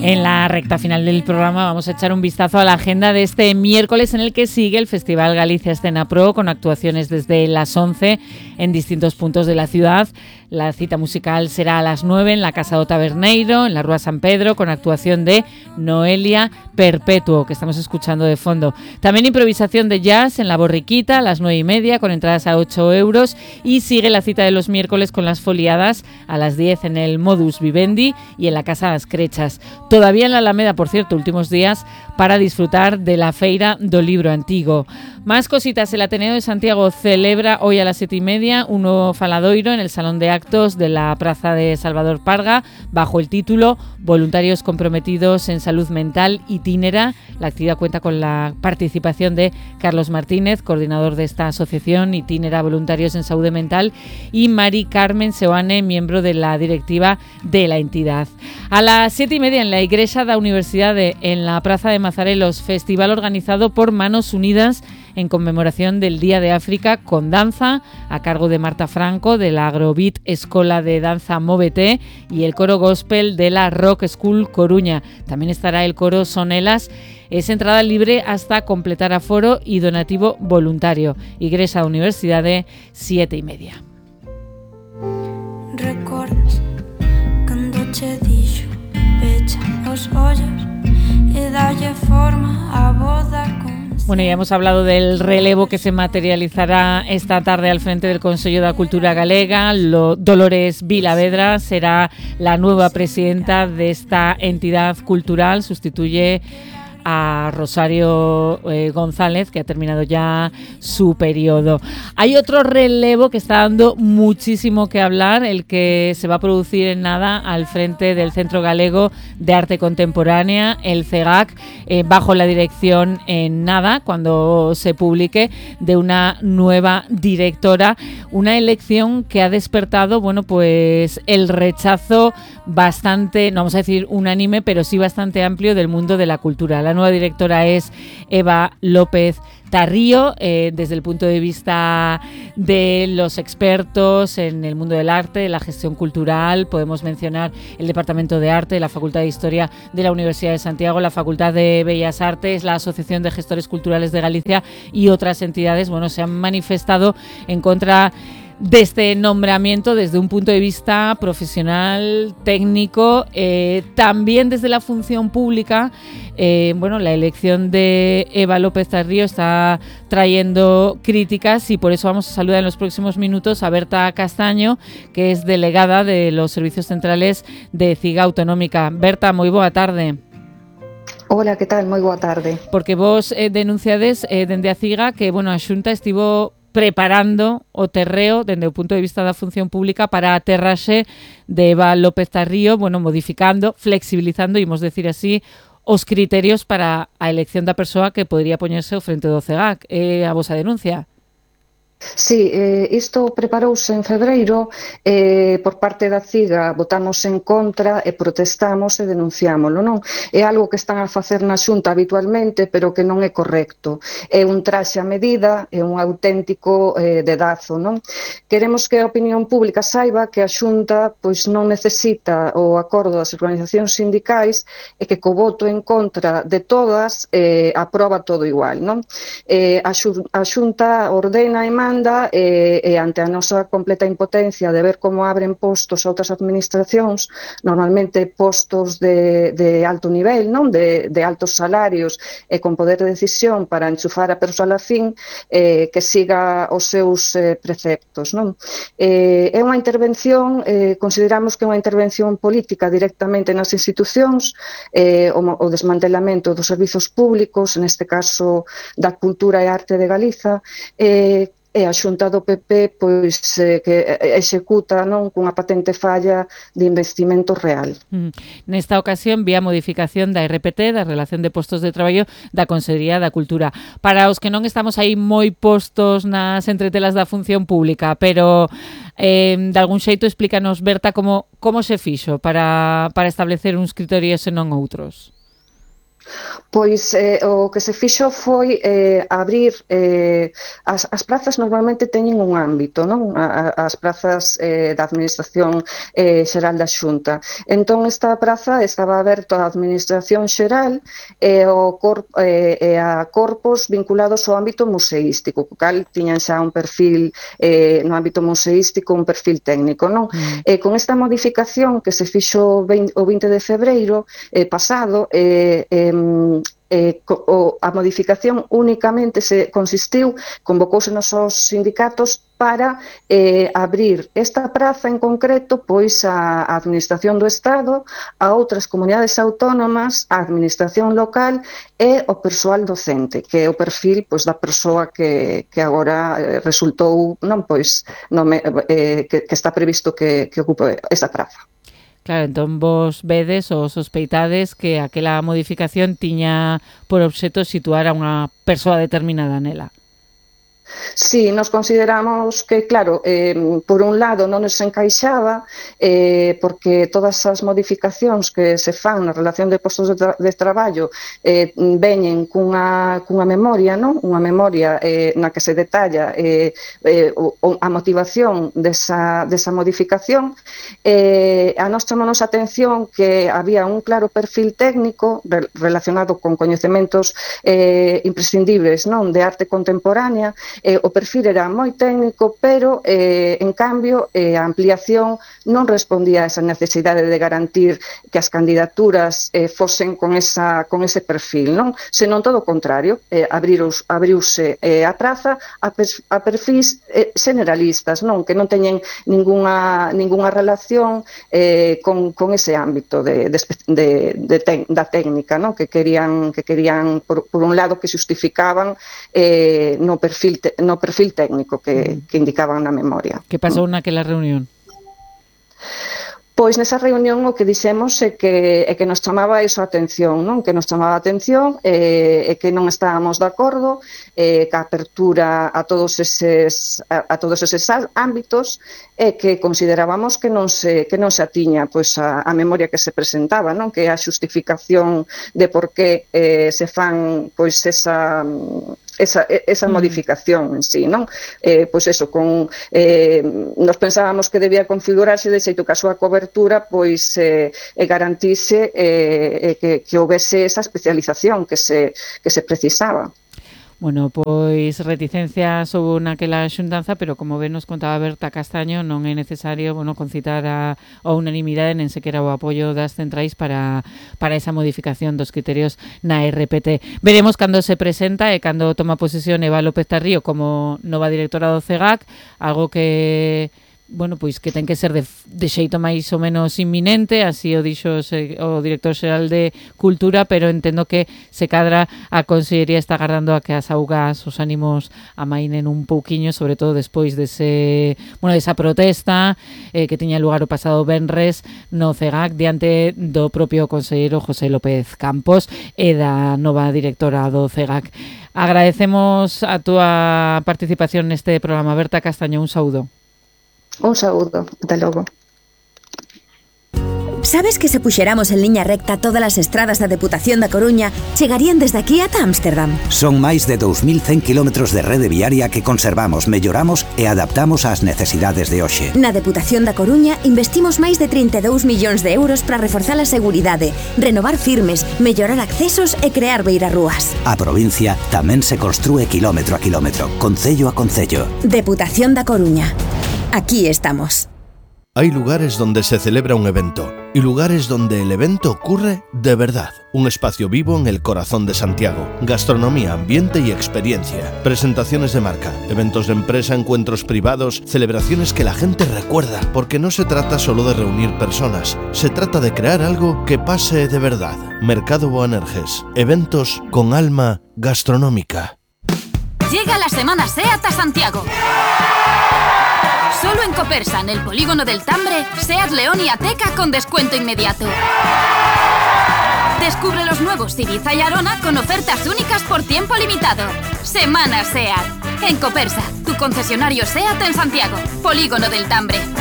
En la recta final del programa vamos a echar un vistazo a la agenda de este miércoles, en el que sigue el Festival Galicia Escena Pro, con actuaciones desde las 11 en distintos puntos de la ciudad. La cita musical será a las 9 en la Casa do Taberneiro, en la Rúa San Pedro, con actuación de Noelia Perpetuo, que estamos escuchando de fondo. También improvisación de jazz en la Borriquita a las 9:30, con entradas a 8 euros. Y sigue la cita de los miércoles con las foliadas a las 10 en el Modus Vivendi y en la Casa Las Crechas. Todavía en la Alameda, por cierto, últimos días para disfrutar de la Feira do Libro Antigo. Más cositas. El Ateneo de Santiago celebra hoy a las 7:30 un nuevo faladoiro en el Salón de Actos de la Plaza de Salvador Parga, bajo el título Voluntarios comprometidos en salud mental Itinera. La actividad cuenta con la participación de Carlos Martínez, coordinador de esta asociación Itinera Voluntarios en Salud Mental, y Mari Carmen Seoane, miembro de la directiva de la entidad. A las 7:30 en la Igrexa da Universidade, en la Plaza de Mazarelos, festival organizado por Manos Unidas en conmemoración del Día de África, con danza a cargo de Marta Franco, de la Agrobit Escola de Danza Móvete, y el coro gospel de la Rock School Coruña. También estará el coro Sonelas. Es entrada libre hasta completar aforo y donativo voluntario. Igrexa da Universidade, 7:30. Recordas cando che dixo pecha os ollos e dalle forma a boda con... Bueno, ya hemos hablado del relevo que se materializará esta tarde al frente del Consello da Cultura Galega. Dolores Vilavedra será la nueva presidenta de esta entidad cultural. Sustituye a Rosario González, que ha terminado ya su periodo. Hay otro relevo que está dando muchísimo que hablar, el que se va a producir en nada al frente del Centro Galego de Arte Contemporánea, el CEGAC, bajo la dirección en nada, cuando se publique, de una nueva directora. Una elección que ha despertado, bueno, pues el rechazo bastante, no vamos a decir unánime, pero sí bastante amplio del mundo de la cultura. La nueva directora es Eva López Tarrío. Desde el punto de vista de los expertos en el mundo del arte, la gestión cultural, podemos mencionar el Departamento de Arte, la Facultad de Historia de la Universidad de Santiago, la Facultad de Bellas Artes, la Asociación de Gestores Culturales de Galicia y otras entidades. Bueno, se han manifestado en contra de este nombramiento desde un punto de vista profesional, técnico, también desde la función pública. Bueno, la elección de Eva López Tarrío está trayendo críticas, y por eso vamos a saludar en los próximos minutos a Berta Castaño, que es delegada de los Servicios Centrales de CIGA Autonómica. Berta, moi boa tarde. Hola, que tal? Moi boa tarde. Porque vos denunciades dende a CIGA que, bueno, a Xunta estivo preparando o terreo dende o punto de vista da función pública para a aterraxe de Eva López Tarrío, bueno, modificando, flexibilizando, imos decir así, os criterios para a elección da persoa que podría poñerse ao frente do CEGAC. A vosa denuncia? Sí, isto preparouse en febreiro, por parte da CIGA votamos en contra e protestamos e denunciámoslo, non? É algo que están a facer na Xunta habitualmente, pero que non é correcto. É un traxe a medida, é un auténtico dedazo, non? Queremos que a opinión pública saiba que a Xunta pois non necesita o acordo das organizacións sindicais e que co voto en contra de todas aproba todo igual, non? A Xunta ordena e manda, e ante a nosa completa impotencia de ver como abren postos a outras administracións, normalmente postos de alto nivel, non, de altos salarios e con poder de decisión para enchufar a persoa afín, que siga os seus preceptos, non? É unha intervención, consideramos que é unha intervención política directamente nas institucións, o desmantelamento dos servizos públicos, neste caso da cultura e arte de Galiza, e a Xunta do PP pois que executa, non, cunha patente falla de investimento real. Nesta ocasión, vía modificación da RPT, da Relación de Postos de Traballo da Consellería da Cultura. Para os que non estamos aí moi postos nas entretelas da función pública, pero de algún xeito explícanos, Berta, como se fixo para establecer uns criterios e non outros. Pois o que se fixo foi abrir as prazas normalmente teñen un ámbito, non? As prazas da Administración Xeral da Xunta. Entón esta praza estaba aberta á Administración Xeral e a corpos vinculados ao ámbito museístico, co cal tiñan xa un perfil no ámbito museístico, un perfil técnico, non? Con esta modificación que se fixo o 20 de febreiro pasado, a modificación únicamente se consistiu, convocouse nos sindicatos para abrir esta praza en concreto pois a Administración do Estado, a outras comunidades autónomas, a Administración local e o persoal docente, que é o perfil pois da persoa que agora resultou que está previsto que ocupe esa praza. Claro, entón vos vedes ou sospeitades que aquela modificación tiña por obxeto situar a unha persoa determinada nela. Sí, nos consideramos que, claro, por un lado non nos encaixaba porque todas as modificacións que se fan na relación de postos de traballo veñen cunha memoria, non? Unha memoria na que se detalla a motivación desa modificación. A nós chamamos a atención que había un claro perfil técnico relacionado con coñecementos imprescindibles, non? De arte contemporánea. O perfil era moi técnico, pero, en cambio, a ampliación non respondía a esa necesidade de garantir que as candidaturas fosen con ese perfil, non? Senón todo o contrario, abriuse a praza a perfis generalistas, non? Que non teñen ningunha relación con ese ámbito da técnica, non? Que querían por un lado, que justificaban no perfil técnico que indicaban na memoria. Que pasou naquela reunión? Pois nesa reunión o que dixemos é que nos chamaba iso a atención, non? Que nos chamaba a atención e que non estábamos de acordo ca apertura a todos eses ámbitos e que considerábamos que non se atiña pois a memoria que se presentaba, non? Que é a xustificación de por que se fan pois esa modificación en sí, non? Pois eso, nos pensábamos que debía configurarse de xeito que a súa cobertura pois garantise que houvese esa especialización que se precisaba. Bueno, pois reticencias houve naquela xuntanza, pero como ben nos contaba Berta Castaño, non é necesario, concitar a unanimidade nen sequera o apoio das centrais para esa modificación dos criterios na RPT. Veremos cando se presenta e cando toma posesión Eva López Tarrío como nova directora do CEGAC, algo que pois que ten que ser de xeito máis ou menos inminente, así o dixo o director xeral de Cultura, pero entendo que se cadra a Consellería está agardando a que as augas, os ánimos amainen un pouquiño, sobre todo despois desa protesta que tiña lugar o pasado venres no CEGAC diante do propio conselleiro José López Campos e da nova directora do CEGAC. Agradecemos a túa participación neste programa. Berta Castaño, un saúdo. Un saúdo, ata logo. Sabes que se puxéramos en liña recta todas as estradas da Deputación da Coruña chegarían desde aquí ata Ámsterdam? Son máis de 2.100 kilómetros de rede viaria que conservamos, melloramos e adaptamos ás necesidades de hoxe. Na Deputación da Coruña investimos máis de 32 millóns de euros para reforzar a seguridade, renovar firmes, mellorar accesos e crear beirarrúas. A provincia tamén se construe kilómetro a kilómetro, concello a concello. Deputación da Coruña. Aquí estamos. Hay lugares donde se celebra un evento y lugares donde el evento ocurre de verdad. Un espacio vivo en el corazón de Santiago. Gastronomía, ambiente y experiencia. Presentaciones de marca, eventos de empresa, encuentros privados, celebraciones que la gente recuerda. Porque no se trata solo de reunir personas, se trata de crear algo que pase de verdad. Mercado Boanerges. Eventos con alma gastronómica. Llega la Semana SEAT a Santiago. Solo en Copersa, en el polígono del Tambre, SEAT León y Ateca con descuento inmediato. Descubre los nuevos Ibiza y Arona con ofertas únicas por tiempo limitado. Semana SEAT. En Copersa, tu concesionario SEAT en Santiago, polígono del Tambre.